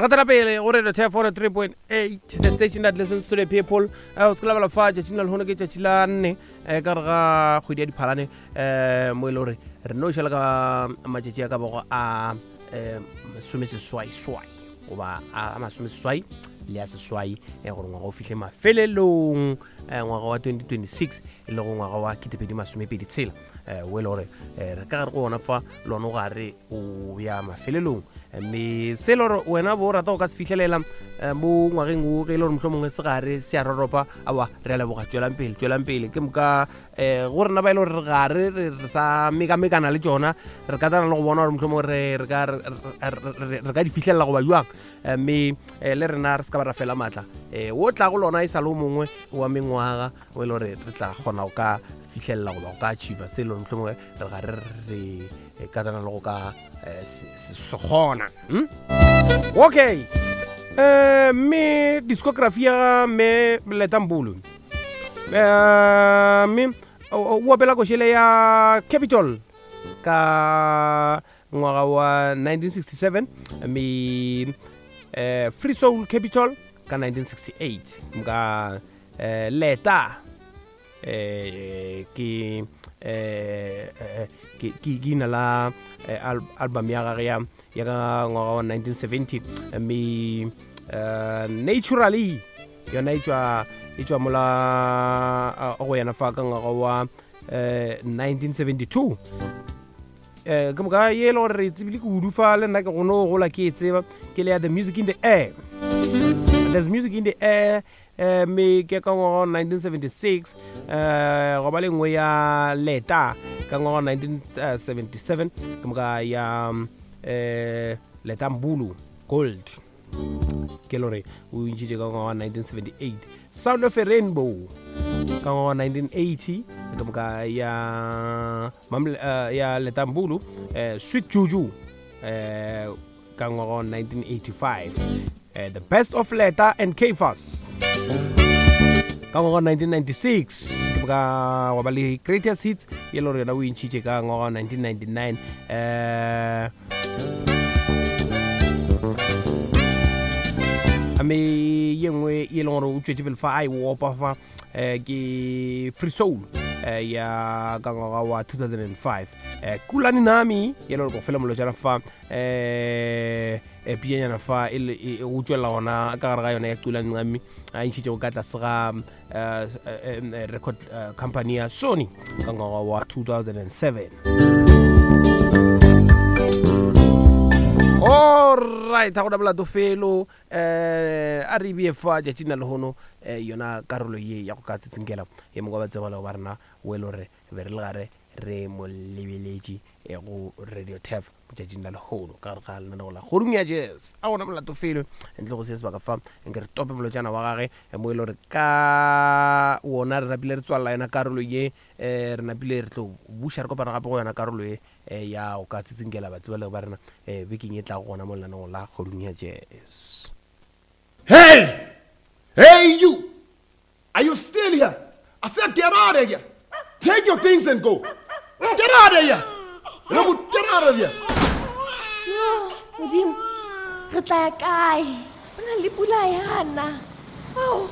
Gatela pele go Radio Turf 103.8, the station that listens to the people. Eh, o se ke la bala fa tšatšing la lehono ke tšatši la nne eh, ka re ga kgwedi ya diphalane eh, mo e le gore re no šala ka matšatši a ka bago a eh, masomeseswai-swai goba a masomeseswai le a seswai eh, gore ngwaga o fihle mafelelong eh, ngwaga wa 2026 e lego ngwaga wa ketepedi masomepedi tshela eh, o e le gore eh, re ka gare go ona fa lone o gare o ya mafelelong. Mme se e le gore wena bo o rata go ka se fihlelela eh, mo ngwageng o ge e le gore mohlomongwe se gare se a roropa, aowa re a leboga, tšwelang pele, tšwelang pele. Ke moka um go rena ba e le gore re gare re sa mekamekana le tšona, re katana le go bona gore mohlomongwe re ka di fihlelela goba jwang. Mme le rena re se ka ba ra fela maatla, um o tla go lona e sa le o mongwe wa mengwaga o e le gore re tla kgona go ka fihlelela goba go ka achieva se e le gore mohlomongwe re gare re katana le go ka se kgona. Okay, mme discography ya mme Letta Mbulu, mme o opela košele ya Capital ka ngwaga wa 1967, mme Free Soul Capital ka 1968. Moka Letta ke ke ina la album ya gage ya ya ka ngwaga wa 1970, mme Naturally yona e tšwa e tšwa mola go yena fa ka ngwaga wa 1972. Ke moka ye e le gore re tsebile kudu fa le nna ke gono gola ke e tseba ke le ya The Music in the Air, There's Music in the Air, mme ke ka ngwaga wa 1976. Go ba le nngwe ya Letta ka ngwaga wa 1977, ke moka ya Letta Mbulu Gold ke le gore o ntšhitše ka ngwaga wa 1978. Sound of a Rainbow ka ngwaga wa 1980, ke moka ya ya Letta Mbulu Sweet Juju ka ngwaga wa 1985. The Best of Letta and Caiphus ka ngwaga wa 1996, ke moka wa ba le Greatest Hits ye le gore yona o e ntšhitše ka ngwaga wa 1999. Mme ye nngwe ye e leng gore o tšwetše pele fa a e opa fa ke Free Soul ya ka ngwaga wa 2005. Kulani Nami ye le gore go fela molotšana fa pianyana fa o tšwelela gona ka gare ga yona ya Kulani Nami a ntšhitšego ka tlase ga record company ya Sony ka ngwaga wa 2007. Alright, ga gona molato felo, a re bee fa tšatšing la lehono yona karolo ye ya go ka tsitsinkela ye mongwe wa batsebalego ba rena o e le gore be re le gare re mo lebeletše go Radio Turf tšatšing la lehono ka gare ga lenaneo la Kgorong ya Jazz. A gona molato felo ntle go se sebaka fa nke re tope molotšana wa gage mo e le gore ka wona re napile re tswalela yona karolo ye, re napile re tlo buša re kopana gape go yona karolo ye ya go ka tsitsinkela batsebalegi ba rena bekeng e tlago gona mo lenaneong la Kgorong ya Jazz. Hey! Hey you! Are you still here? I said get out of here! Take your things and go! Get out of here! Remo, get out of here! Yo, Modimo, re tla ya kae? Go na le pula yana. Ao.